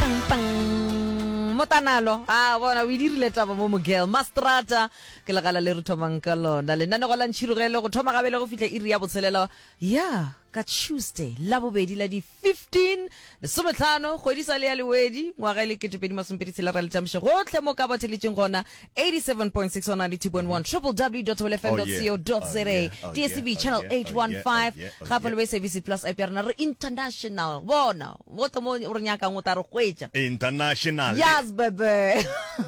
Pang pang. Motanalo, a bona o e dirile taba mo mogirl. Mastrata ke legala le re thomang ka lona. Lenanego la Ntšhirogele go thoma gabele go fihla iri ya botshelela ya ka Tuesday Labobedi la di 15 lesometlhano kgwedi sa le ya lewedi ngwaga e le 2026 ra le tamiša gohle mo ka batheletšeng gona 87.6 on 92.1 www.fm.co.za DSTV channel 815 gape le bo SABC Plus app ya rena re international bona gohle mo o re nyakang o tla re hwetša International. yes baby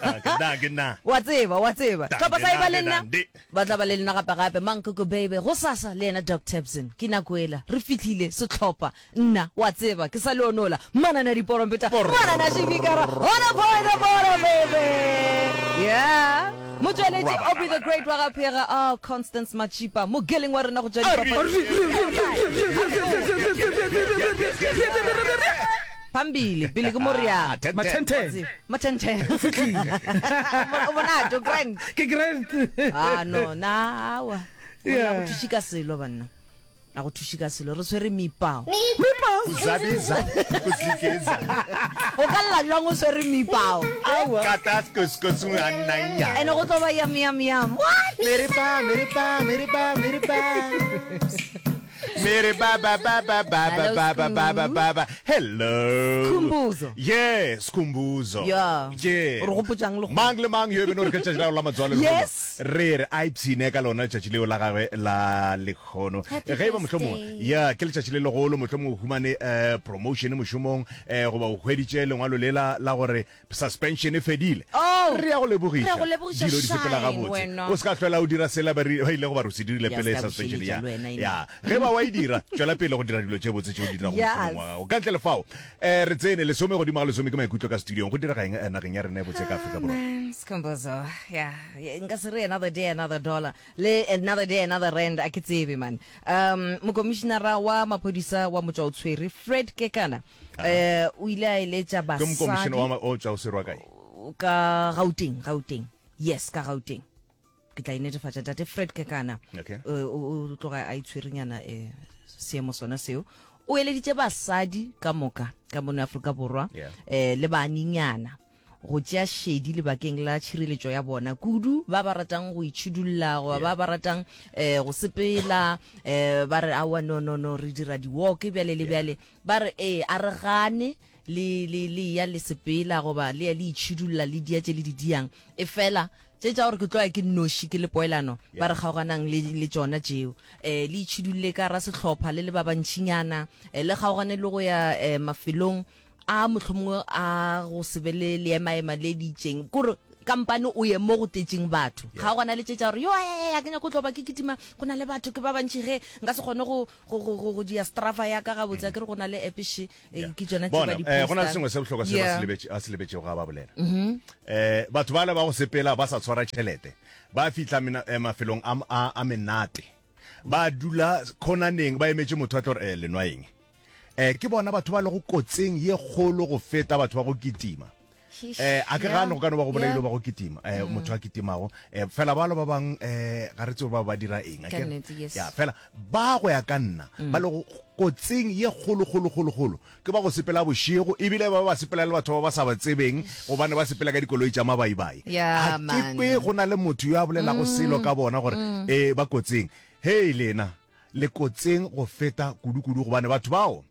Ah, ke na, ke na. wa tseba wa tseba Tlhopha sa e ba le nna Dande. Ba tla ba le lena gape-gape, Mankoko Baby, gosasa, le yena Doc Tabson. Ke nako yela. Re fihlile, sehlopha. Nna, wa tseba, ke sa le onola. Manane a diporompeta, manane a šipikara, on a point of order, baby! Yeah. Motšweletši, Aubrey the Great wa ga Phega, oh, Constance Matshipa, mogeleng wa rena go tšwa dipapading. Phambili, pele ke mo re yang. Mathenthe. Mathenthe. O fihlile. O monate, o grand. Ke grand. Ah no, na awa. Yeah. Go thuši ka selo banna. A go thuši ka selo. Re tshwere mipao. Mipao. Kuzabiza, kuzigeza. O ka lla bjang o swere mipao? Awa. Katas kuskusunganaya. Ene go tlo ba yam yam yam. What? Mere ba, mere ba, mere ba, mere ba. Mere ba ba ba ba ba ba Hello, ba ba ba ba ba ba. Hello. Skhumbuzo. Yeah, Skhumbuzo. Yeah. Yeah. O re gopotšang le go- Mang le mang yo e beno re ke letšatši la gago la matswalo lehono. Yes. Re re a ipshine ka lona letšatši leo la gagwe la lekgono. Happy Ge e ba mohlomongwe birthday. ya ke letšatši le legolo mohlomongwe o humane eh, promotion mošomong eh, goba o hweditše lengwalo lela la gore Suspension e fedile. Oh! Re ya go lebogiša. Re ya go lebogiša, Dilo di sepela Shine, gabotse. wena. O se ka hlwela o dira sela ba ri- ba ilego ba re o se dirile Ya, pele se ka suspension bušeletša ya. le wena, ena. Ya. Ge ba wa e dira, tšwela pele go dira dilo tše botse tše o di dirago Yes. mošomong wa gago. Ka ntle le fao, eh, re tsene lesome godimo ga lesome ke maikutlo ka studiong. Go direga eng eh, nageng ya rena e botse ka Afrika Borwa? Man, Skhumbuzo. Yeah, yeah, nka se re another day another dollar le another day another rand a ke tsebe man. Um mokomišinara wa maphodisa wa motšwaotshwere Fred Kekana Eh, o ile a eletša Ke mokomišene wa basadi ma- o tšwa o serwa kae? ka Gauteng, Gauteng. Yes, ka Gauteng. Ke tla e netefatša tate Fred Kekana. Okay. Eh, o o tloga a itshwerenyana eh, seemo sona seo. O eleditše basadi ka moka ka mono Afrika Borwa Yeah. eh, le banenyana go tšea šedi lebakeng la tšhireletšo ya bona, kudu ba ba ratang go itšhidulla goba ba ba ratang eh, go sepela eh, ba re aowa no no no re dira di-walk bjale le bjale ba re ee a re gane le le le ya le sepela goba le ya le itšhidulla le dia tše le di diang e fela tše tša gore ke tlo ya ke nnoši ke le poelano ba re kgaoganang le le tšona tšeo um le itšhidulle ka ra sehlopha le le ba bantšinyana um le kgaogane le go ya um mafelong a mohlomongwe a go se be le leemaema le le itšeng kore kampane o ye mo go tletšeng batho ga gona le tše tša gore yo a ke nyako tlo ba ke kitima go na le batho ke ba bantši ge nka se kgone go go go go go dia strafa ya ka gabotse a ke re go na le app še eh, ke tšona tše ba Bona, di eh, go na le postang. sengwe se bohlokwa se ba Yeah. se lebetše- a se lebetšego ga ba bolela. Eh, batho bale ba go sepela ba sa tshwara tšhelete, ba fihla mena- eh, mafelong a, a, a menate, ba dula khonaneng ba emetše motho a tlo re eh, le nwa eng? Eh, ke bona batho ba lego kotsing ye kgolo go feta batho ba go kitima. Eh, a ke gane go ka no ba go bolailwe ba go kitima, eh, motho a kitimago. Eh, fela balo ba bang eh, ga re tsebe ba ba dira eng. a Ka ke re? nnete, yes. Ya, fela ba go ya ka nna ba lego kotsing ye kgolo kgolo kgolo kgolo ke ba go sepela bošego ebile ba ba sepela le batho ba ba sa ba tsebeng gobane ba sepela ka dikoloi tša mabaibai. Ya, A ke man. kwe go na le motho yo a bolelago selo ka bona gore eh ba kotsing. Hei lena, Le kotseng go feta kudu-kudu gobane batho bao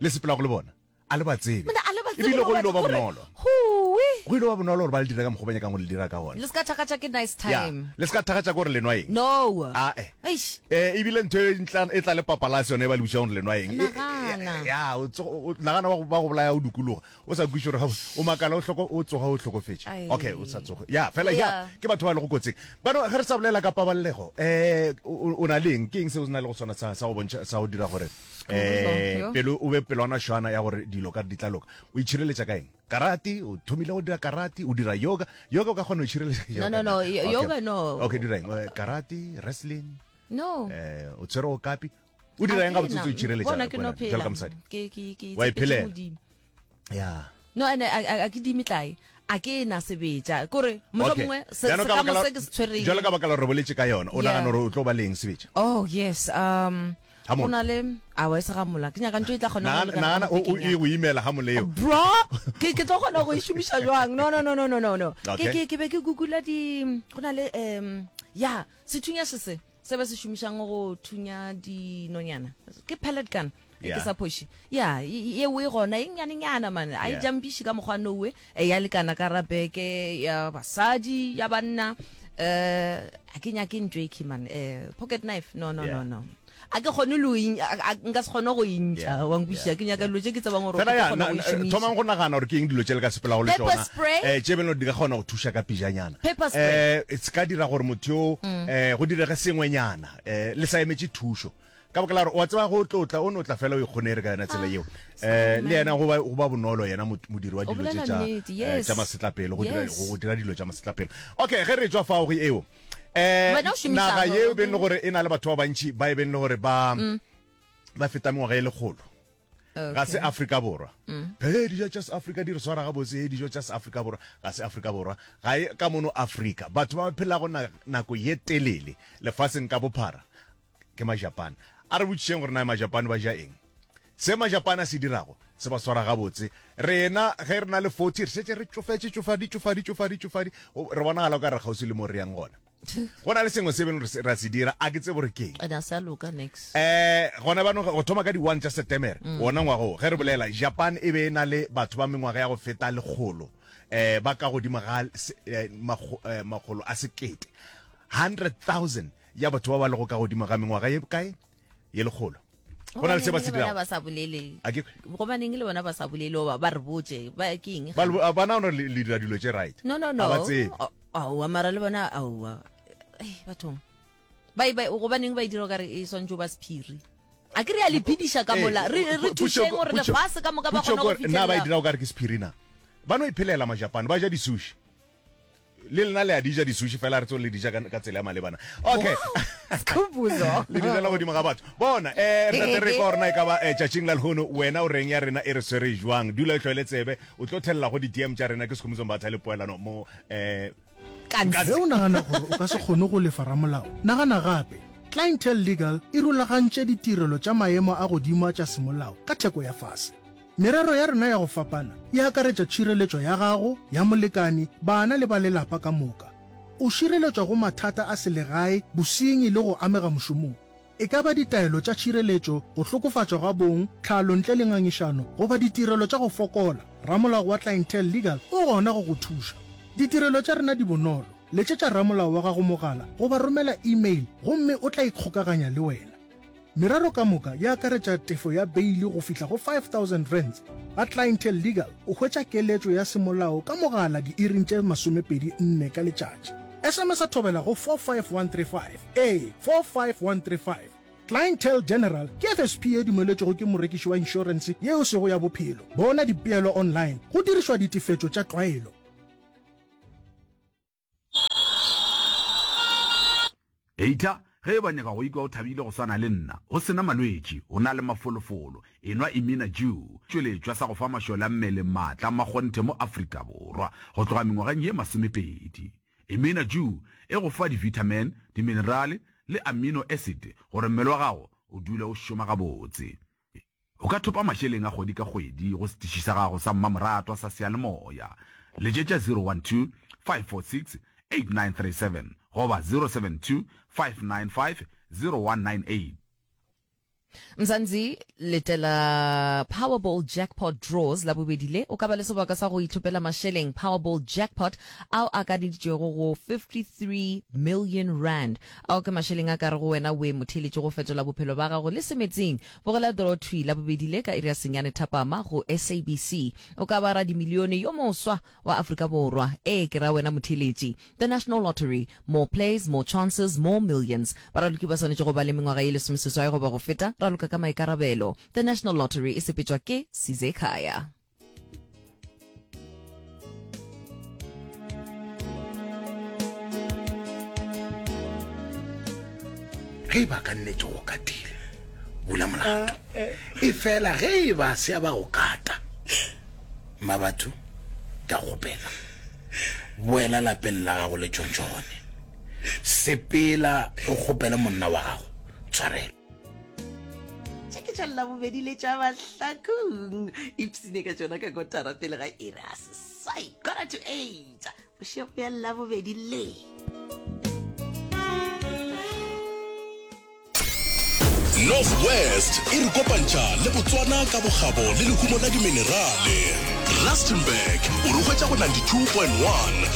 le sepelago le bona a le ba tsebe. Monna, a le ba tsebe Ebile go le ile go ba gore, bonolo. Huwi! Go ile ba bonolo gore ba le dire ka mokgwa o ba nyakang go le dira ka gona. Le se ka thakgatša ke nice Ya, time. le se ka thakgatša ke gore le nwa eng. No. Ae. Eish. Eh, ebile ntho e ntla e tla le papalase yone e ba le botšang gore le nwa eng. E- e- Nagana. Ya, o tsogo- o- nagana ba go ba go bolaya o dukologa. O sa kwešiše gore gabotse o makala o hloko o tsoga o hlokofetše. Ai. Okay, o sa tsoge. Ya, fela ya Yeah. ke batho ba lego kotsing. Bano ge re sa bolela ka pabalego, eh o o na le eng? Ke eng seo o na le go sona sa sa go bontšha sa go dira gore eh Yo. pelo o be pelwana šwana ya gore dilo ka re di tla loka. O itšhireletša ka eng? Karate, o thomile go dira karate, o dira yoga. Yoga o ka kgona go itšhireletša No, yoga. no, no, na? yo- Okay. yoga no. Okay, dira eng? Eh, Karate, wrestling, No. eh o tshwere o kapi. O dira eng gabotse o itšhireletša? Bona ke no wena, phela. Jwalo ka mosadi. Ke ke ke Wa tshepetše iphelela. Modimo. Ya. No ene a a- a ke di metlae. A ke na sebetša. Kore Okay. mohlomongwe se Bjalo se ka ka baka mo la- se ke se tshwereng. Jwalo ka baka la gore re boletše ka yona, o Yeah. nagana gore o tlo ba le eng sebetša? Oh yes. Um. Go na le awa e se ga mola. Ke nyaka ntho e tla kgona go lekana Nagana o e go imela ga moleo. Bro, ke ke tlo kgona go e šomiša jwang? No no no no no no no. Ke ke ke be ke googla di go na le um ya sethunya se se se ba se šomišang go thunya dinonyana. Ke pellet gun. Yeah. Ke sa phoši. Ya, yeo e gona e nnyane-nyana man. A e jampiše ka mokgwa nowe. E ya lekana ka rabeke ya basadi, ya banna. Eh, a ke nyake ntho e khi man. Eh, pocket knife. No no no no. A ke kgone lo nka se kgone go intša wa nkwešiša. Ke nyaka dilo tše ke tsebang gore ke kgona go e šomiša. Thomang go nagana gore ke eng dilo tše le ka sepelago le tšona. Eh, tše beno di ka kgona go thuša ka pejanyana. Pepper spray. Eh, se ka dira gore motho yo eh go direge sengwenyana. Eh, le sa emetše thušo. Ka baka la gore wa tseba go tlo tla o no tla fela o ikgonere ka yona tsela yeo. Eh le yena go ba go ba bonolo yena modiri wa dilo tše tša eh, tša masetlapelo go dira go dira dilo tša masetlapelo. Okay, ge re tšwa fao go eo. Eh naga yeo beng le gore e na le batho ba bantši ba e beng le gore ba mm. ba feta mengwaga e lekgolo. Ga se Afrika Borwa. Mm. He dijo tša Afrika di re swara gabotse, he dijo tša Afrika Borwa ga se Afrika Borwa. Ga e ka mono Afrika. Batho ba phelago nako ye telele lefaseng ka bophara Ke Majapane. A re botšišeng gore na Majapane ba ja eng. Se Majapane a se dirago se ba swara gabotse. Rena ge re na le 40 re šetše re tšofetše, tšofadi, tšofadi, tšofadi, tšofadi. Re bonagala o ka re kgauswi le mo re yang gona. Go na le sengwe se beng ra se dira, a ke tsebe gore ke eng. And a sa loka next. Eh, gona bano go thoma ka di 1 tša Setemere, mm. wona ngwaga wo, ge re bolela, Japan e be e na le batho ba mengwaga ya go feta lekgolo, eh, ba ka godimo ga eh, eh, makgolo a sekete, 100,000 ya batho ba ba lego ka godimo ga mengwaga ye kae ye lekgolo go na le se ba se dirago ba sa bolele A ke- gobaneng le bona ba sa bolele oba ba re botse ba ke eng ba le- ba nagana gore le le dira dilo tše right no no no A ba tsebe. aowa mara le bona aowa Ei, bathong ba ba gobaneng ba e dira o kare e swantse o ba sephiri a ke re ya le phediša ka mola re re thušeng gore lefase ka moka ba kgona go na ba e fitlhelela dira o kare ke sephiri na ba no iphelela majapane ba ja di-sushi Le lena le a di ja di-sushi fela re tso le di ja ka tsela ya malebana. Okay. Skhumbuzo. Le di jela godimo ga batho. Bona, eh re tate re kwa gore na e ka ba eh, tšatšing la lehono wena o reng ya rena e re swere jwang. Dula e hlwele tsebe, o tlo thelela go di-DM tša rena ke Skhumbuzo Mbatha le Poelano mo eh Ge o nagana gore o ka se kgone go lefa ramolao, nagana gape. Clientele Legal e rulagantše ditirelo tša maemo a godimo tša semolao ka theko ya fase. Merero ya rena ya go fapana e akaretša tšhireletšo ya gago, ya molekane, bana le ba lelapa ka moka. O šireletšwa go mathata a selegae, bosenyi le go amega mošomong. E ka ba ditaelo tša tšhireletšo, go hlokofatšwa ga bong, tlhalo ntle le ngangišano goba ditirelo tša go fokola, ramolao wa Clientele Legal o gona go go thuša. Ditirelo tša rena di bonolo, letšetša ramolao wa gago mogala goba romela email gomme o tla ikgokaganya le wena. Merero ka moka e akaretša tefo ya beili go fihla go R5000. Ga Clientele Legal o hwetša keletšo ya semolao ka mogala diiring tše 24 ka letšatši. SMS-a thobela go 45135. Ee, 45135. Clientele General ke FSP ye dumeletšwego ke morekiši wa inšorense ye e sego ya bophelo. Bona dipeelo online go dirišwa ditefetšo tša tlwaelo. Heita, ge e ba nyaka go ikwa o thabile go swana le nna, o se na malwetši, o na le mafolofolo, enwa Imina Dew, tšweletšwa sa go fa mašole a mmele maatla a makgonthe mo Afrika Borwa go tloga mengwageng ye masomepedi. Imina Dew e go fa di-vitamin, diminerale le amino acid gore mmele wa gago o dule o šoma gabotse. O ka thopa mašeleng a kgwedi ka kgwedi go setiši sa gago sa mmamoratwa sa seyalemoya. Letšetša 012 546 8937 goba 072 595 0198. Mzansi, letela Powerball Jackpot Draws Labobedi le, o ka ba le sebaka sa go itlhophela mašeleng Powerball Jackpot ao a kaneditšwego go 53 million rand. Ao ke mašeleng a ka re go wena we motheeletši go fetola bophelo ba gago le semetsing. Bogela draw thwi Labobedi le ka iri ya senyane thapama go SABC. O ka ba radimilione yo moswa wa Afrika Borwa. Ee, ke ra wena motheeletši. The National Lottery, More plays, more chances, more millions. Baraloki ba swanetše go ba le mengwaga ye lesomeseswai goba go feta. Raloka ka maikarabelo. The National Lottery e sepetšwa ke Sizekhaya. Ge e ba ka nnete go katile, bula molato. Efela ge e ba se a ba go kata, Mmabatho, ke a kgopela, boela lapeng la gago le tšontšhone. Sepela o kgopele monna wa gago tshwarelo. tša Labobedi le tša Mahlakong. Ipsine ka tšona ka kotara pele ga iri ya seswai, quarter to eight, bošego bja Labobedi le. North West e re kopantšha le Botswana ka bokgabo le lehumo la diminerale. Rustenburg o re hwetša go 92.1.